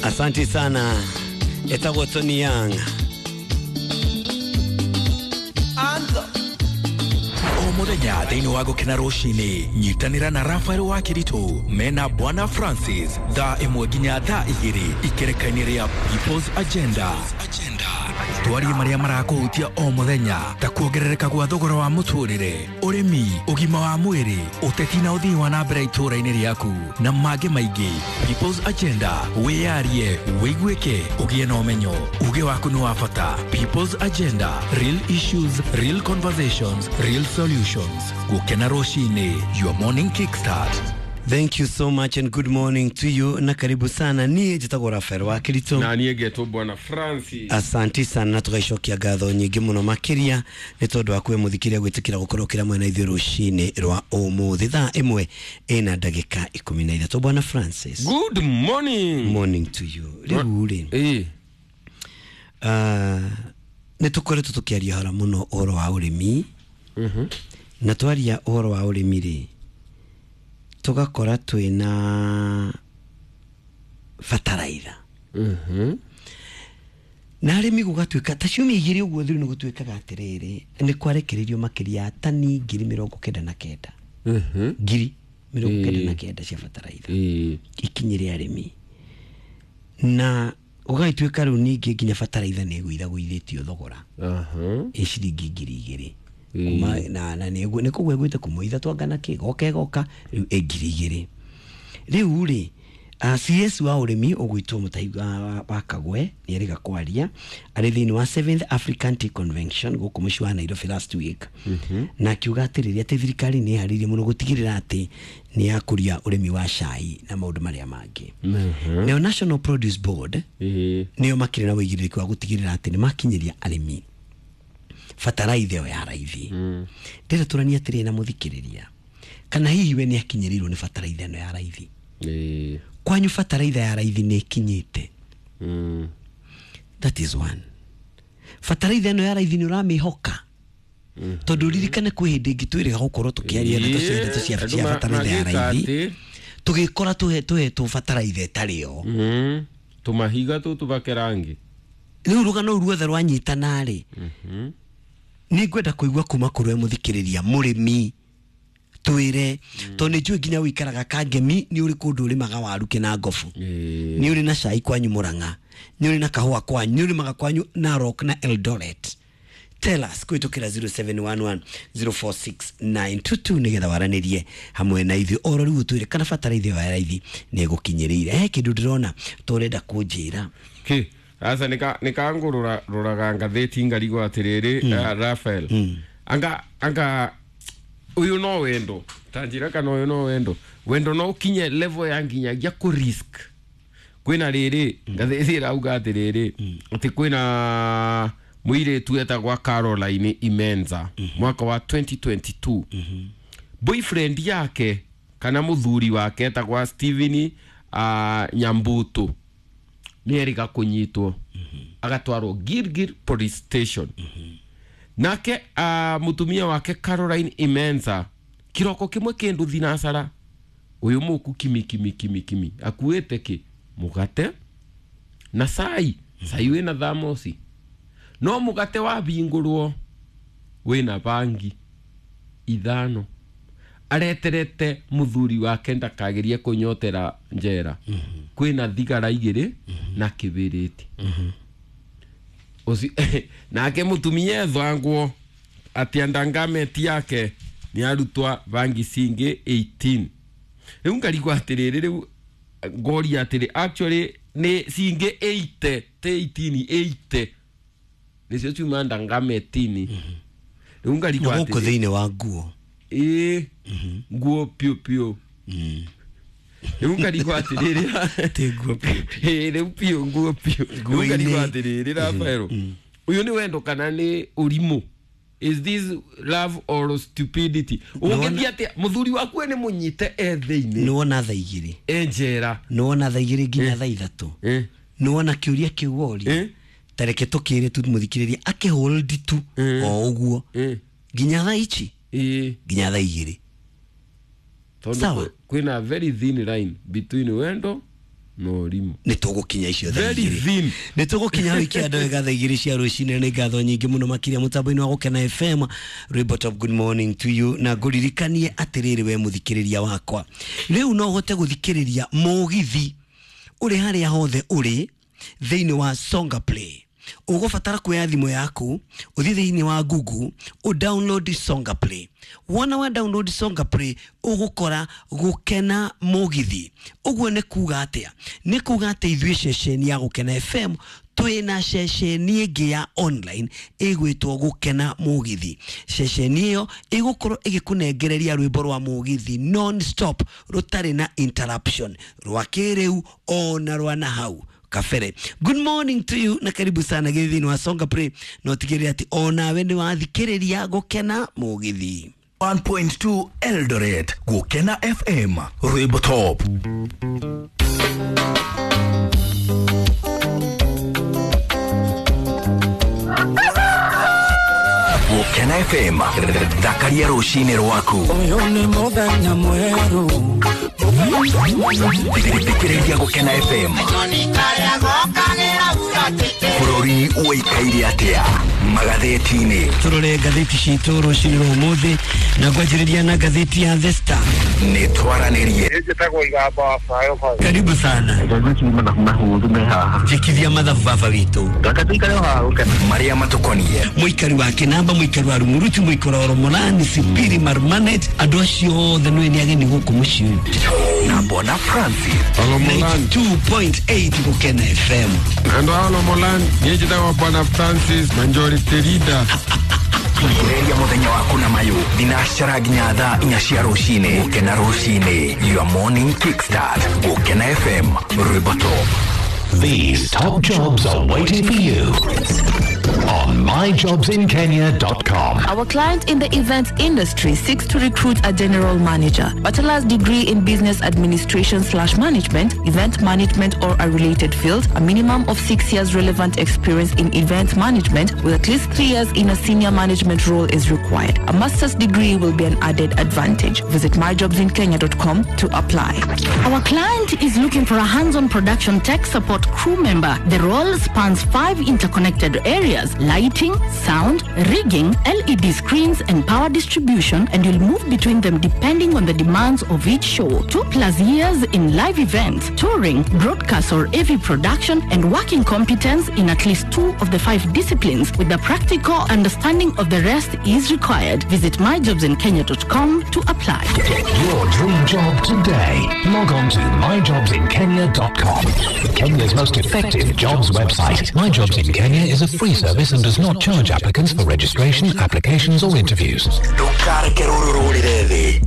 Asante sana. Etagwo Tony Young. O muthenya thĩinĩ wa gũkena rũcinĩ nyitanĩra na Rafael wa Kĩritũ mena Bwana Francis thaa 1 nginya thaa 2 ikereka-inĩ rĩa People's Agenda. Twarie marĩa marakũhutia o mũthenya ta kuongerereka gwa thogora wa mũtũrĩre, ũrĩmi, ũgima wa mwĩrĩ, ũteti na ũthii wa na mbere itũũra-inĩ rĩaku na mangĩ maingĩ. People's Agenda, wĩyarie, wĩiguĩke, ũgĩe na ũmenyo. Uge waku nĩ wa bata. People's Agenda, real issues, real conversations, real solutions. Gũkena rũcinĩ, your morning kickstart. Thank you so much and good morning to you na karibu sana. Niĩ njĩtagwo Rafael wa Kĩritũ. Na niĩ ngetwo Bwana Francis. Asanti sana na tũgaicokia ngatho nyingĩ mũno makĩria nĩ tondũ wa kwĩ mũthikĩria gwĩtĩkĩra gũkorwo kĩra mwena ithuĩ rũcinĩ rwa ũmũthĩ thaa 1 ĩna ndagĩka 13. Bwana Francis, good morning. Morning to you. Rĩu rĩ, nĩ tũkoretwo tũkĩaria hora mũno ũhoro wa ũrĩmi. Na twaria ũhoro wa ũrĩmi rĩ, tũgakora twĩna bataraitha. Na arĩmi gũgatuĩka ta ciumia igĩrĩ ũguo thiru nĩ gũtuĩkaga atĩrĩrĩ, nĩ kwarekereirio makĩria ya tani 99,000. 99,000 cia bataraitha ikinyĩre arĩmi. Na gũgagĩtuĩka rĩu ningĩ nginya bataraitha nĩ ĩgũithagũithĩtio thogora. Ĩ ciringi 2,000. Kuma na nĩ kũguo ĩgwĩte kuma ithatũ anga na kĩ goka ĩgoka rĩu ĩ 2,000. Rĩu rĩ, CS wa ũrĩmi ũgwĩtwo Mutahi wa Kagwe nĩ erĩga kwaria arĩ thĩinĩ wa 7th African Tea Convention gũkũ mũciĩ wa Nairobi last week. Na akiuga atĩrĩrĩ atĩ thirikari nĩ ĩharĩirie mũno gũtigĩrĩra atĩ nĩ yakũria ũrĩmi wa cai na maũndũ marĩa mangĩ. Nayo National Produce Board nĩyo makĩrĩ na ũigĩrĩrĩki wa gũtigĩrĩra atĩ nĩ makinyĩria arĩmi bataraitha ĩyo ya raithi. Ndĩrenda tũranie atĩrĩrĩ na mũthikĩrĩria, kana hihi we nĩ akinyĩrĩirwo nĩ bataraitha ĩno ya raithi? Kwanyu bataraitha ya raithi nĩ ĩkinyĩte? That is one. Bataraitha ĩno ya raithi nĩ ũramĩhoka? Tondũ ririkane kwĩ hĩndĩ ĩngĩ twĩrĩga gũkorwo tũkĩaria ndeto cia ndeto cia bataraitha ya raithi, tũgĩkora tũhetwo bataraitha ĩtarĩ yo. Tũmahiga tũtũbake rangi. Rĩu rũgano rũu ruothe rwanyitana rĩ, nĩ ngwenda kũigua kuma kũrĩ we mũthikĩrĩria mũrĩmi, twĩre tondũ nĩ njũĩ nginya ũikaraga Kangemi nĩ ũrĩ kũndũ ũrĩmaga waru kĩna ngobu, nĩ ũrĩ na cai kwanyu Mũrang'a, nĩ ũrĩ na kahũa kwanyu, nĩ ũrĩmaga kwanyu Narok na Eldoret. Tell us kũhĩtũkĩra 0711 046 922 nĩgetha waranĩrie hamwe na ithuĩ oro rĩu ũtwĩre kana bataraitha ĩyo ya raithi nĩ ĩgũkinyĩrĩire. He kĩndũ ndĩrona tũrenda kũnjĩra. Kĩ? Asa nikangurura ruraga ngathĩti ngarigwo atĩrĩrĩ, Rafael, anga uyu no wendo ta njĩra kana uyu no wendo, wendo no ũkinye level ya nginyagia kũ risk. Kwĩna rĩrĩ ngathĩti ĩrauga atĩrĩrĩ atĩ kwĩna mũirĩtu etagwa Caroline Imenza mwaka wa 2022. Boyfriend yake kana mũthuri wake etagwa Steven Nyambutu nĩ erĩga kũnyitwo agatwarwo Gilgil Police Station. Nake mũtumia wake Caroline Imenza kiroko kimwe kĩndũ thinacara uyu mũku kimi kimi kimi kimi akuĩte kĩ mũgate na cai, cai wĩna thamosi, no mũgate wabingũrwo wĩna bangi 5. Areterete mũthuri wake ndakagerie kũnyotera njera. Kwĩna thigara 2 na kĩbĩrĩti. Nake mũtumia ethangwo atĩ andangameti yake nĩ arutwa bangi cingĩ 18. Rĩu ngarigwo atĩrĩrĩ, rĩu ngoria atĩrĩ, actually nĩ cingĩ 80 te 18 80 nĩcio ciuma ndangametini. Rĩu ngarigwo atĩrĩ gũkũ thĩinĩ wa nguo ĩĩ nguo piũ piũ. Rĩu ngarigwo atĩrĩrĩ, ti nguo piũ piũ, rĩu piũ nguo piũ. Rĩu ngarigwo atĩrĩrĩ, Rafael, ũyũ nĩ wendo kana nĩ ũrimũ? Is this love or stupidity? Ũngĩthiĩ atĩa mũthuri waku nĩ mũnyite e thĩinĩ? Nĩ wona thaa 2 e njera, nĩ wona thaa 2 nginya thaa 3, nĩ wona kĩũria kĩu woria, ta reke tũkĩre tu mũthikĩrĩria akĩhold tu o ũguo nginya thaa ici, nginya thaa 2. Tondũ kwĩna very thin line between wendo No rimo. Nĩ tũgũkinya icio thaa Very igĩrĩ. thin. Nĩ tũgũkinya hau ikianda wega thaa 2 cia rũcinĩ. Nĩ ngatho nyingĩ mũno makĩria mũtambo-inĩ wa Gũkena FM. Rwĩmbo top, good morning to you. Na ngũririkanie atĩrĩrĩ, we mũthikĩrĩria wakwa, rĩu no ũhote gũthikĩrĩria mũgithi ũrĩ harĩa hothe ũrĩ thĩinĩ wa Songa Play. Ũgũbatara kuoya thimũ yaku, ũthiĩ thĩinĩ wa Google, ũ download Songa Play. Wona wa download Songa Play, ũgũkora Gũkena Mũgithi. Ũguo nĩ kuga atĩa? Nĩ kuga atĩ ithuĩ ceceni ya Gũkena FM twĩna ceceni ĩngĩ ya online ĩgwĩtwo Gũkena Mũgithi. Ceceni ĩyo ĩgũkorwo ĩgĩkũnengereria rwĩmbo rwa mũgithi non stop, rũtarĩ na interruption, rwa kĩrĩu ona rwa na hau kabere. Good morning to you na karibu sana gĩthĩ-inĩ wa Songa Play, na ũtigĩrĩre atĩ onawe nĩ wathikĩrĩria Gũkena Mũgithi. 1.2 Eldoret, Gukena FM, Rwimbo Top. Gukena FM, thakaria rũcinĩ rwaku. Ũyũ nĩ mũthenya mwerũ. Thikĩrĩria Gũkena FM. Bũrũri ũikaire atĩa magathĩti-inĩ? Tũrore ngathĩti citũ rũcinĩ rwa ũmũthĩ, na ngwanjĩrĩria na ngathĩti ya The Star. Nĩ twaranĩrie. Njĩtagwo Igamba wa Bayo. Karibu sana. Ngathĩti mathabu mahũthũ me haha. Njĩkithia mathabu baba witũ. Reke tũikare o haha gũkena. Marĩa matũkonie. Mũikari wa Kĩnamba, mũikari wa Rumuruti, mũikari wa Romolani, Sipiri, Marmanet, andũ acio othe nĩ ageni gũkũ mũciĩ ũyũ. Na Bwana Francis. Olomolan. 92.8 Gũkena FM. Ando Olomolan, njĩtagwo Bwana Francis Majority Leader. Thikĩrĩria mũthenya waku na mayũ thinacara nginya thaa 4 cia rũcinĩ. Gũkena rũcinĩ, your morning kickstart. Gũkena FM, Rwimbo Top. These top jobs are waiting for you on myjobsinkenya.com. Our client in the events industry seeks to recruit a general manager, bachelor's degree in business administration/management, event management or a related field, a minimum of 6 years relevant experience in event management with at least 3 years in a senior management role is required. A master's degree will be an added advantage. Visit myjobsinkenya.com to apply. Our client is looking for a hands-on production tech support crew member. The role spans 5 interconnected areas: lighting, sound, rigging, LED screens, and power distribution, and you'll move between them depending on the demands of each show. 2+ years in live events, touring, broadcast or AV production, and working competence in at least 2 of the 5 disciplines with a practical understanding of the rest is required. Visit myjobsinkenya.com to apply. Get your dream job today. Log on to myjobsinkenya.com. Kenya's most effective jobs website. My Jobs in Kenya is a free service and does not charge applicants for registration, applications or interviews. Ndũkareke rũrũ rũrĩre thĩ.